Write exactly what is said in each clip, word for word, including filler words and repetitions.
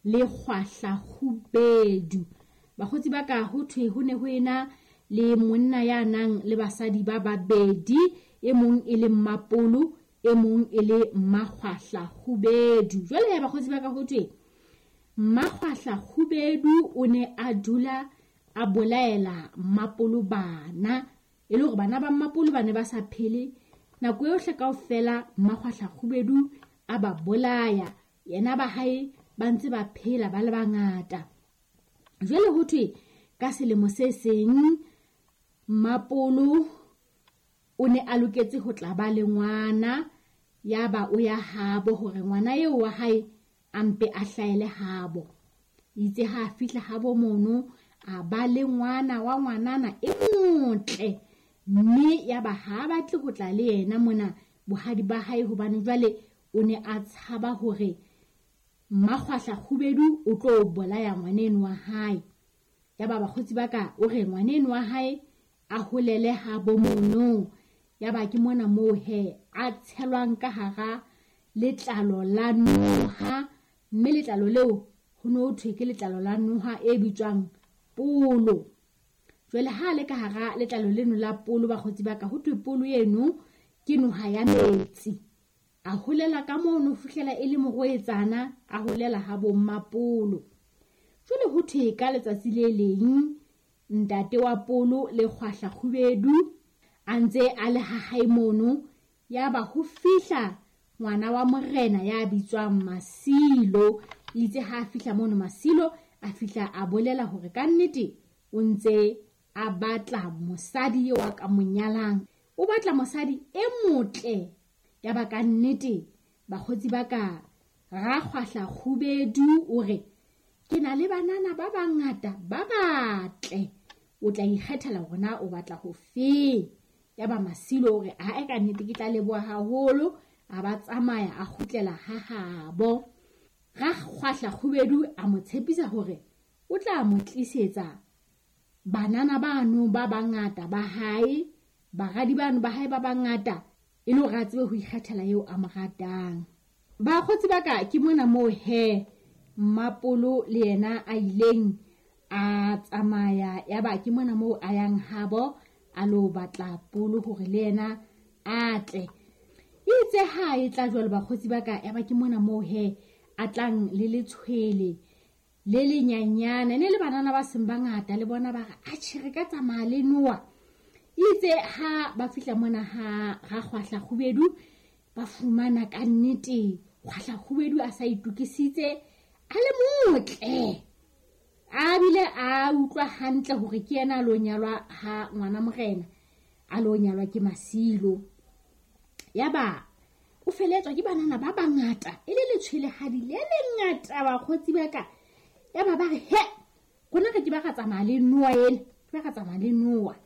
le Kgwahla Kgubedu. Bakgotsi ba ka, ho thwe ho ne ho ena le monna ya nang le basadi ba babedi, e mong e le Mmapolo, e mong e le Mmakgwahla Kgubedu. Jwale ya bakgotsi ba ka, ho thwe Mmakgwahla Kgubedu o ne a dula a bolaela Mmapolo bana, e le hore bana ba Mmapolo ba ne ba sa phele nako yohle kaofela. Mmakgwahla Kgubedu a ba bolaya, yena ba hae ba ntse ba phela ba le bangata. Jwale ho thwe ka selemo se seng Mmapolo o ne a loketse ho tla ba le ngwana, ya ba o ya habo hore ngwana eo wa hae a mpe a hlahele habo. Itse ha a fihla habo mono, a ba le ngwana wa ngwanana e motle, mme ya ba ha batle ho tla le yena mona bohadi ba hae, hobane jwale o ne a tshaba hore Mmakgwahla Kgubedu o tlo bolaya ngwaneno wa hae. Ya ba bakgotsi ba ka, o re ngwaneno wa hae a holele habo mono. Ya ba ke mona moo he a tshelwang ka hara letlalo la noha, mme letlalo leo ho no thwe ke letlalo la noha e bitswang polo. Jwale ha le ka hara letlalo leno la polo, bakgotsi ba ka, ho thwe polo eno ke noha ya metsi. A holela ka mono fihlela e le morwetsana, a holela ha bo Mmapolo. Jwale ho thwe ka letsatsi le leng ntate wa polo le Kgwahla Kgubedu a ntse a le ha hae mono, ya ba ho fihla ngwana wa morena ya bitswang Masilo. Itse ha fihla mono Masilo a fihla a bolela hore ka nnete o ntse a batla mosadi eo a ka mo nyalang, o batla mosadi e motle. Ya ba ka nnete bakgotsi ba ka, Rakgwahla Kgubedu o re ke na le banana ba bangata ba batle, o tla ikgethela hore na o batla ho feng. Ya ba Masilo o re ae, ka nnete ke tla leboha haholo. A ba tsamaya a kgutlela ha habo. Rakgwahla Kgubedu a mo tshepisa hore o tla mo tlisetsa banana bano ba bangata ba hae, baradi bano ba hae ba bangata, e le hore a tsebe ho ikgethela eo a mo ratang. Bakgotsi ba ka, ke mona moo he Mmapolo le yena a ileng a tsamaya. Ya ba ke mona moo a yang habo a lo batla polo hore le yena a tle. Itse ha e tla jwalo bakgotsi ba ka, ya ba ke mona moo he a tlang le letshwele le lenyanyana, ne le banana ba seng bangata le bona ba re atjhe re ka tsamaya le noa. Itse ha ba fihla mona ha Rakgwahla Kgubedu, ba fumana ka nnete Kgwahla Kgubedu a sa itokisitse, a le motle, a bile a utlwa hantle hore ke yena a lo nyalwa ha ngwana morena, a lo nyalwa ke Masilo. Ya ba o feletswa ke banana ba bangata, e le letshwelehadi le lengata bakgotsi ba ka. Ya ba ba re he, rona re ke ba ra tsamaya le noa ena, ke ba ra tsamaya le noa.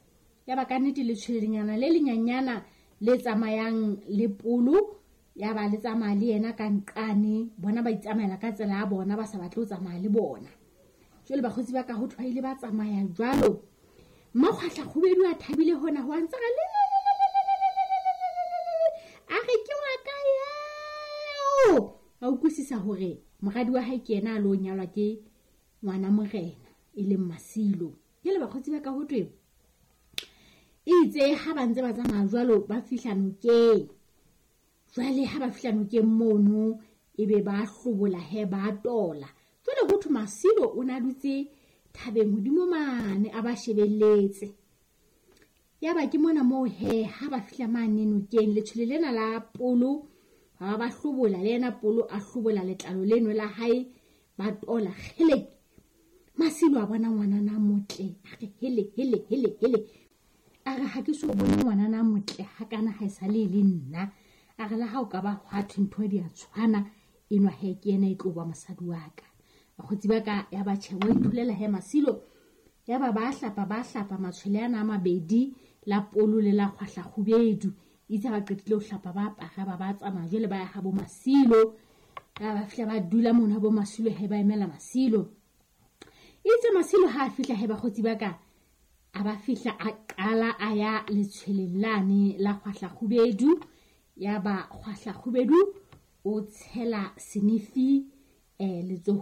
Ya ba ka nnete letshwelenyana le lenyanyana le tsamayang le polo, ya ba le tsamaya le yena ka nqane, bona ba itsamaela ka tsela ya bona, ba sa batle ho tsamaya le bona. Jwale bakgotsi ba ka, ho thwe ba ile ba tsamaya jwalo. Mmakgwahla Kgubedu a thabile hona ho a ntse re le a re ke wa ka eo. A utlwisisa hore moradi wa hae ke yena a lo nyalwa ke ngwana morena e leng Masilo. Jwale bakgotsi ba ka, ho thwe itse ha ba ntse ba tsamaya jwalo, ba fihla nokeng. Jwale ha ba fihla nokeng mono, ebe ba hlobola he ba tola. Jwale ho thwe Masilo o na dutse thabeng hodimo mane a ba shebelletse. Ya ba ke mona moo he ha ba fihla mane nokeng, letshwele lena la polo ba ba hlobola, le yena polo a hlobola letlalo leno la hae, ba tola kgele. Masilo a bona ngwanana motle, a re hele hele hele hele. A re ha ke so bone ngwanana motle hakana ha e sa le le nna. A re le ha o ka ba hwa thwe ntho di a tshwana, enwa he ke yena e tlo ba mosadi wa ka. Bakgotsi ba ka, ya ba tjhe wa itholela he Masilo. Ya ba ba hlapa ba hlapa matshwele ana a mabedi, la polo le la Kgwahla Kgubedu. Itse ba qetile ho hlapa ba apara ba ba tsamaya jwale ba ya habo Masilo. Ya ba fihla ba dula mono habo Masilo he ba emela Masilo. Itse Masilo ha a fihla he bakgotsi ba ka, a ba fihla a qala a ya letshweleng lane la Kgwahla Kgubedu. Ya ba Kgwahla Kgubedu o tshela senefi eh letsohong